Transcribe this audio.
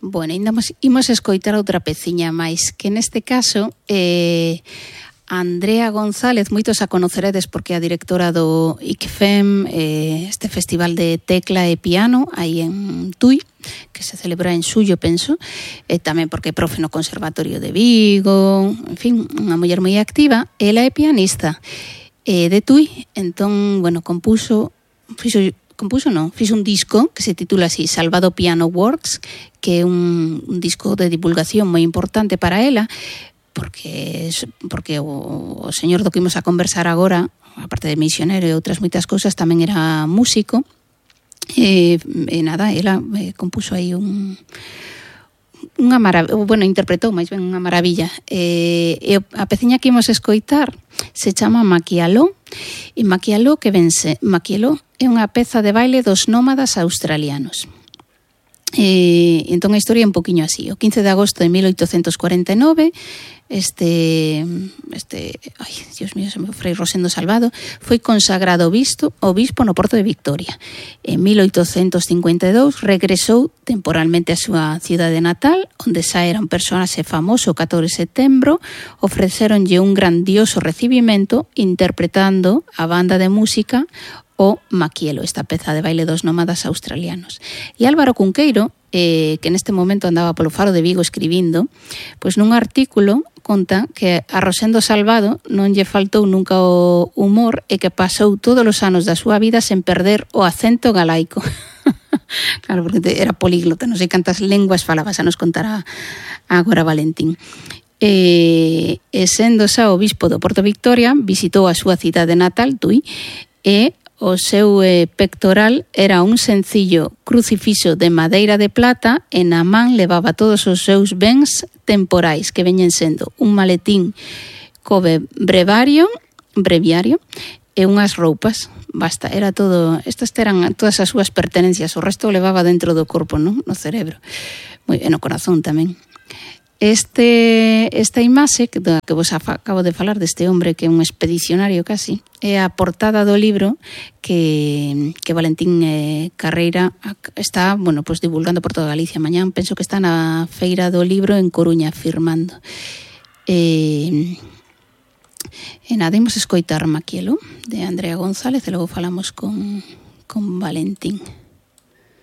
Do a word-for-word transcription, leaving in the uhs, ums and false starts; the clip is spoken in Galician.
Bueno, imos, imos escoitar outra peciña máis, que neste caso eh, Andrea González, moitos a conoceredes porque é a directora do I C F E M, eh, este festival de tecla e piano aí en Tui, que se celebra en xullo, penso, e tamén porque é profe no Conservatorio de Vigo, en fin, unha muller moi activa. Ela é pianista eh, de Tui, entón, bueno, compuso, fixo compuso non, fiz un disco que se titula así, Salvado Piano Works, que é un, un disco de divulgación moi importante para ela, porque porque o, o señor do que imos a conversar agora, aparte de misionero e outras moitas cousas, tamén era músico, e, e nada, ela eh, compuso aí un unha maravilla, bueno, interpretou máis ben unha maravilla. E, e a peciña que imos escoitar se chama Maquialó, e Maquialó que vense, Maquialó é unha peza de baile dos nómadas australianos. E, entón a historia é un poquinho así. O quince de agosto de mil oitocentos cuarenta e nove, este, este, ai, Dios mío, se me foi Rosendo Salvado, foi consagrado obispo, obispo no Porto de Victoria. En mil oitocentos cincuenta e dous regresou temporalmente a súa cidade natal, onde xa era un personaxe famoso o catorce de setembro, ofreceronlle un grandioso recibimento interpretando a banda de música o Maquielo, esta peza de baile dos nómadas australianos. E Álvaro Cunqueiro, eh, que neste momento andaba polo Faro de Vigo escribindo, pois nun artículo conta que a Rosendo Salvado non lle faltou nunca o humor e que pasou todos os anos da súa vida sen perder o acento galaico. Claro, porque era políglota, non sei cantas lenguas falaba, xa nos contará agora Valentín. E, e sendo xa o bispo do Porto Victoria, visitou a súa cidade natal, Tui, e o seu eh, pectoral era un sencillo crucifixo de madeira de plata e na man levaba todos os seus bens temporais, que veñen sendo un maletín co brevario, breviario e unhas roupas. Basta, era todo, estas eran todas as súas pertenencias, o resto o levaba dentro do corpo, non? No cerebro. Moi ben, no corazón tamén. Este, esta imaxe que, que vos acabo de falar deste hombre que é un expedicionario casi, é a portada do libro que, que Valentín eh, Carreira está, bueno, pues divulgando por toda Galicia. Mañán penso que está na Feira do Libro en Coruña firmando. E, e nada, imos escoitar Maquielo de Andrea González e logo falamos con, con Valentín.